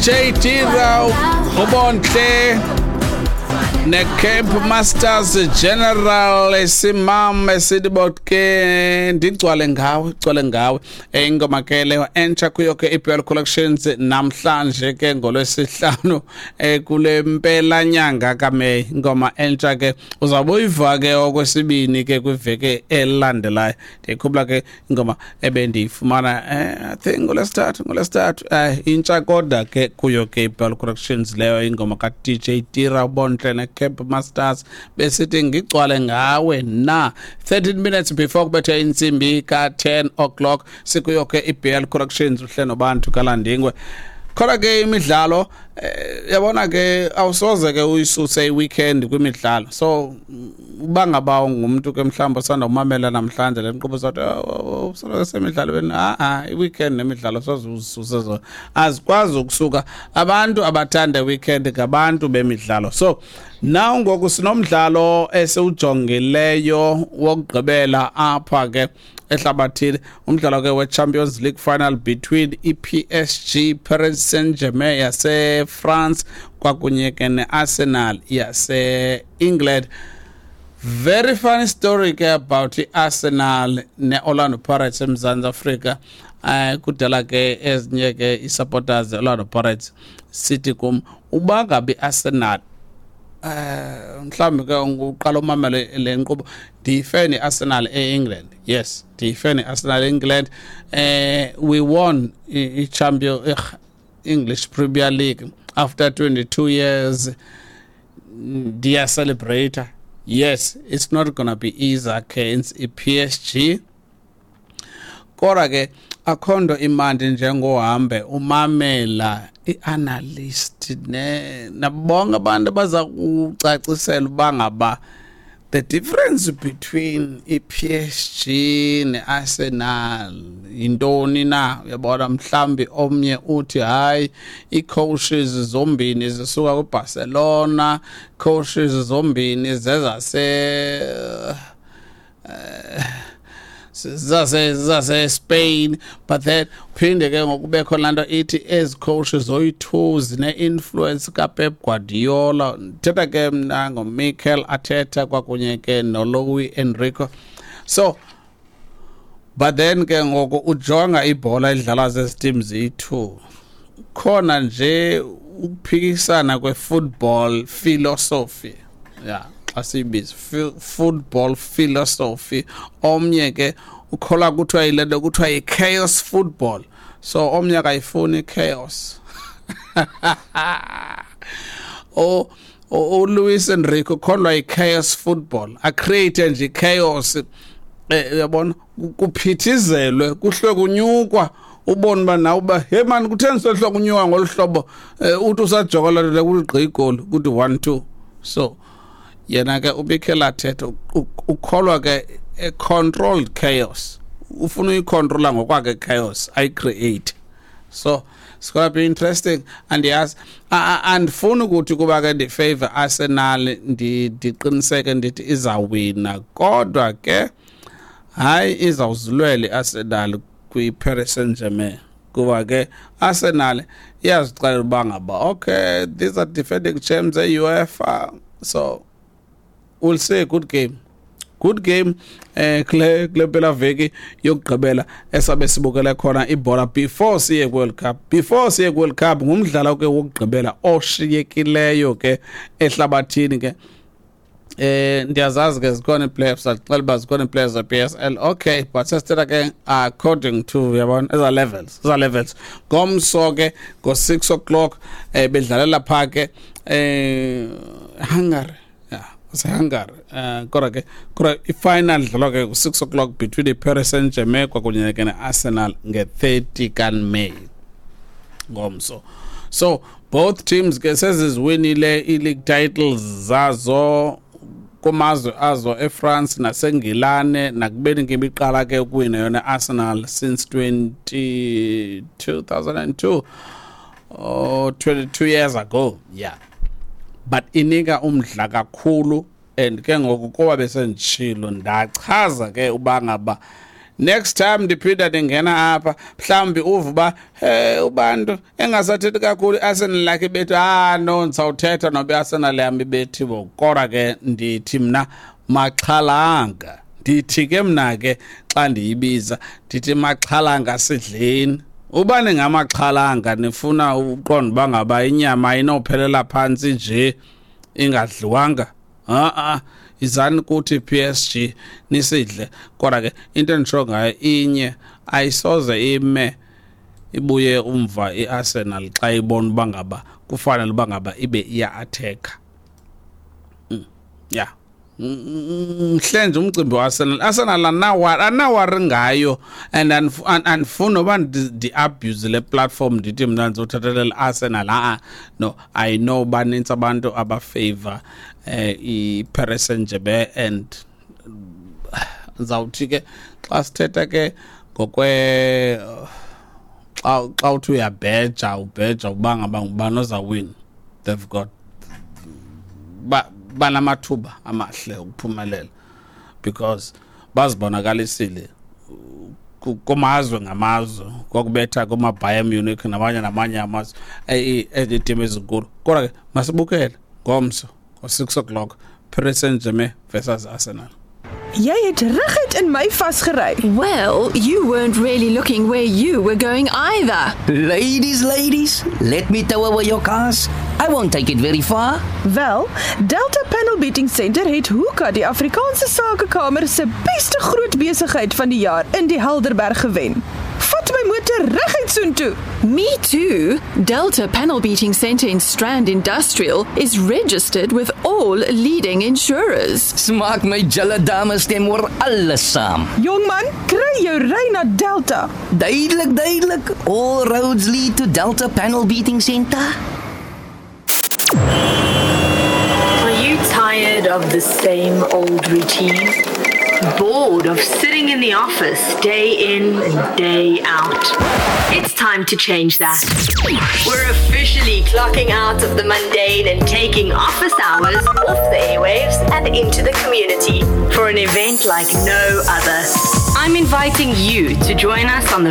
DJ Tira, uBontle neCamp Masters General simam esithi ke ndigcwale ngawe, gcwale ngawe. Ingoma ke leyo entsha kuyo ke iBL Collections namhlanje ke ngolwesihlanu, kule mpela nyanga kaMay. Ingoma entsha ke uzawube uyiva ke okwesibini ke kwiveki elandelayo. Ndiyikhumbula ke ingoma ebendiyifumana, I think ngolwesithathu, intsha kodwa ke kuyo ke iBL Collections leyo, ingoma ka-DJ Tira, uBontle neCamp Masters, besithi ngigcwale ngawe na. 13 minutes before kubethe intsimbi ka-10 o'clock, sikuyo ke iBL Collections, uhle noBantu kaLandingwe. Khona ke imidlalo, yabona ke, awusoze ke uyisuse i-weekend kwimidlalo. So uba ngaba ungumntu ke mhlawumbi osanda umamela namhlanje le nkqubo, sathi usoloko semidlalweni, a-a, i-weekend nemidlalo soze uzisuse zona, azikwazi ukusuka. Abantu abathanda i-weekend ngabantu bemidlalo. So now ngoku sinomdlalo esiwujongileyo wokugqibela apha ke ehlabathini, umdlalo ke we-Champions League final between i-PSG, Paris Saint-Germain yase-France, kwakunye ke ne-Arsenal yase-England. Very funny story ke about i-Arsenal ne-Orlando Pirates eMzantsi Afrika. Kudala ke ezinye ke i-supporters ze-Orlando Pirates sithi kum, uba ngabe i-Arsenal, mhlawumbi ke uqala umamele le nkqubo, ndiyifan i-Arsenal e-England. Yes, ndiyifan i-Arsenal e-England. We won i-champion English Premier League after 22 years. Ndiyacelebrate. Yes, it's not gonna be easy against i-PSG, kodwa ke akho nto imandi njengohambe umamela i-analyst ne nabonke abantu abaza kucacisela uba ngaba the difference between i-PSG ne-Arsenal yintoni na. Uyabona, mhlambi omnye uthi hayi, ii-coaches zombini zisuka kwiBarcelona, coaches zombini zase Spain, but then phinde ke ngokubekho laa nto ithi ezi coaches zoyi-two zine-influence kaPep Guardiola. Ndithetha ke mna ngoMikel Arteta kwakunye ke noLuis Enrique. So but then ke ngoku ujonga ibhola edlalwa zezi teams ziyi-two, khona nje ukuphikisana kwe-football philosophy, yeah, xa siyibiza football philosophy. Omnye ke ukholwa kuthiwa yile nto kuthiwa yi-chaos football, so omnye akayifuni i-chaos. O uLuis Enrique ukholwa yi-chaos football, acreate nje i-chaos, uyabona, kuphithizelwe, kuhlwe kunyukwa, ubone uba nawe uba hey man, kutheni sohlwa kunyuka ngolu hlobo? Uthi usajoka loo nto leyo, kuthi gqi igoli, kuthi 1-2. So yena ke uMikel Arteta ukholwa ke a controlled chaos, ufuna uyicontrola ngokwakhe chaos ayicreate. So it's gonna be interesting. Andiyazi, andifuni ukuthi kuba ke ndifavor Arsenal ndiqiniseke ndithi izawina, kodwa ke hayi, izawuzilwela i-Arsenal kwi-Paris Saint-Germain, kuba ke Arsenal iyazixelela uba ngaba okay, these are defending champs e-UEFA. So we'll see a good game, good game kule mpela veki yokugqibela esabe sibukele khona ibhola before siye World Cup. Before siye World Cup, ngumdlalo ke wokugqibela oshiyekileyo ke ehlabathini ke. Ndiyazazi ke zikhona ii-playoffs, axela uba zikhona ii-players ze-PSL, okay, but sesithetha ke according to, uyabona, eza levels, eza levels. Ngomso ke ngo-6 o'clock, bedlalela phaa ke Hungary, yeah, Hungary, kodwa ke i-final idlalwa ke ngo-6 o'clock between i-Paris Saint-Germain kwakunye ke ne-Arsenal nge-30 kaMay ngomso. So both teams ke seziziwinile i-league titles zazo kumazwe azo, eFrance naseNgilane, nakubeni ke ibiqala ke ukuwina yona Arsenal since 20 2002 or 22 years ago, yeah. But inika umdla kakhulu, and ke ngoku kuba besenditshilo, ndachaza ke uba ngaba Next time ndiphinda ndingena apha, mhlawumbi uve uba hey, ubantu engasathethi kakhulu i-Arsenal lakhe ibethu. Ah no, ndizawuthetha noba i-Arsenal yam ibethiwe, kodwa ke ndithi mna maxhalanga. Ndithi ke mna ke xa ndiyibiza ndithi maxhalanga sidleni. Uba ningamaxhalanga nifuna uqonda uba ngaba inyama ayinophelela phantsi nje ingadliwanga, a-a, izani kuthi PSG nisidle. Kodwa ke into enditsho ngayo inye, ayisoze ime ibuye umva i-Arsenal xa ibona uba ngaba kufanele uba ngaba ibe iya-attack-a. Ya, mhle nje umcimbi we-Arsenal. Arsenal andinawari ngayo and andifuni noba ndi-abuse le platform ndithi mna ndizothathelela i-Arsenal. Ha-a, no, I know banintsi abantu aba-favor i-Paris Saint-Germain, and ndizawuthi ke xa sithetha ke ngokwe xa uthi uyabheja, ubheja uba ngaba ngubani ozawina, they've got banamathuba amahle ukuphumelela because bazibonakalisile kumazwe ngamazwe, kwakubetha kuma-Bayern Munich namanye amazwe, iitimu ezinkulu. Kodwa ke masibukele ngomso ngo-6 o'clock, Paris Saint-Germain versus Arsenal. Jy het reguit in my vasgery. Well, you weren't really looking where you were going either. Ladies, ladies, let me tow away your cars. I won't take it very far. Wel, Delta Panel Beating Center het Hoeka, die Afrikaanse Sakekamer se beste groot besigheid van die jaar in die Helderberg gewen. Vat my motor reguit soontoe. Me too. Delta Panel Beating Center in Strand Industrial is registered with all leading insurers. Smaak my julle dames stem oor alles saam. Jongman, kry jou ry na Delta. Duidelik, duidelik. All roads lead to Delta Panel Beating Center. Are you tired of the same old routine? Bored of sitting in the office day in and day out? It's time to change that. We're officially clocking out of the mundane and taking office hours off the airwaves and into the community for an event like no other. I'm inviting you to join us on the